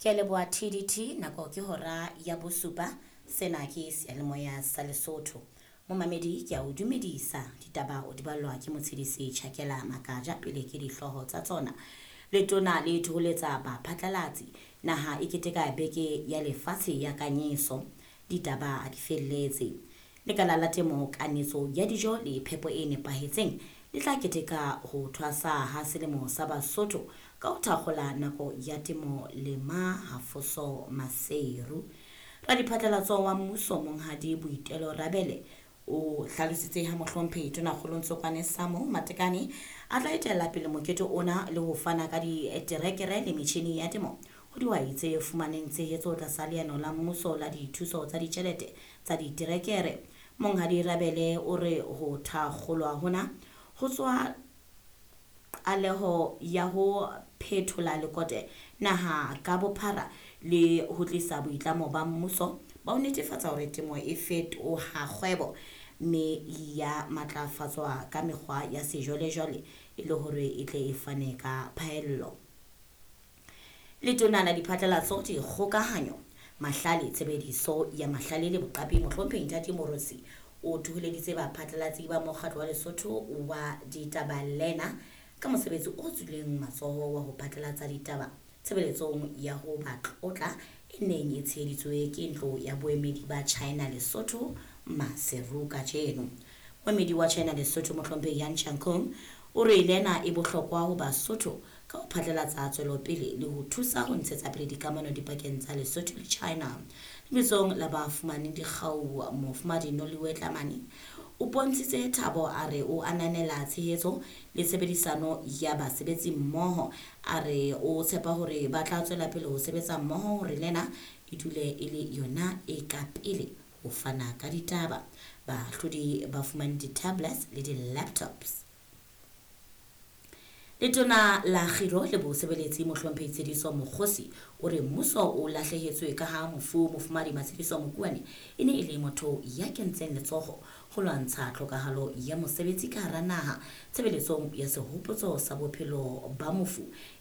Ke a leboha TDT, nako ke hora ya bosupa. Sena ke seyalemoya sa Lesotho. Momamedi, ke a o dumedisa. Ditaba o di ballwa ke Motshedisi Chakela Makaja. Pele ke dihlooho tsa tsona. Letona le thoholetsa baphatlalatsi. Naha e keteka Beke ya Lefatshe ya Kanyeso. Ditaba di felletse. Lekala la temo, kanetso ya dijo le phepo e nepahetseng le tla keteka ho thwasa ha Selemo sa Basotho ka ho thakgola Nako ya Temo Lema Hafoso Maseru. Radiphatlalatso wa mmuso, Monghadi Boitelo Rabele, o hlalositse ha Mohlomphehi Tonakgolo Ntsokwane Samo Matekane a tla etella pele mokete ona le ho fana ka diterekere le metjhini ya temo ho dihwai tse fumaneng tshehetso tlasa leano la mmuso la dithuso tsa ditjhelete tsa diterekere. Monghadi Rabele o re ho thakgolwa hona ho tswa qaleho ya ho phethola lekote naha ka bophara le ho tlisa boitlamo ba mmuso ba ho netefatsa hore temo e fetoha kgwebo mme ya matlafatswa ka mekgwa ya sejwalejwale e le hore e tle e fane ka phaello. Letona la Diphatlalatso, Dikgokahanyo, Mahlale, Tshebediso ya Mahlale le Boqapi, Mohlomphehi Nthati Moorosi, o thoholeditse baphatlalatsi ba Mokgatlo wa Lesotho wa Ditaba Lena ka mosebetsi o tswileng matsoho wa ho phatlalatsa ditaba tshebeletsong ya ho ba tlotla e neng e tsheheditswe ke Ntlo ya Boemedi ba China Lesotho Maseru kajeno. Moemedi wa China Lesotho, Mohlomphehi Yan Changkong, o re lena e bohlokwa ho Basotho ka ho phatlalatsa tswelopele le ho thusa ho ntshetsa pele dikamano dipakeng tsa Lesotho le China. Lebitsong la ba fumaneng dikgau, Mofumahadi Noliwe Tlamane o bontshitse thabo, a re o ananela tshehetso le tshebedisano ya basebetsi mmoho. A re o tshepa hore ba tla tswela pele ho sebetsa mmoho hore lena e dule e le yona e ka pele ho fana ka ditaba. Bahlodi ba fumane di-tablets le di-laptops. Letona la Kgiro le Bosebeletsi, Mohlomphehi Tshediso Mokgosi, o re mmuso o lahlehetswe ka ha mofu Mofumahadi Matshediso Mokuane e ne e le motho ya kentseng letsoho ho lwantsha tlhokahalo ya mosebetsi ka hara naha. Tshebeletsong ya sehopotso sa bophelo ba mofu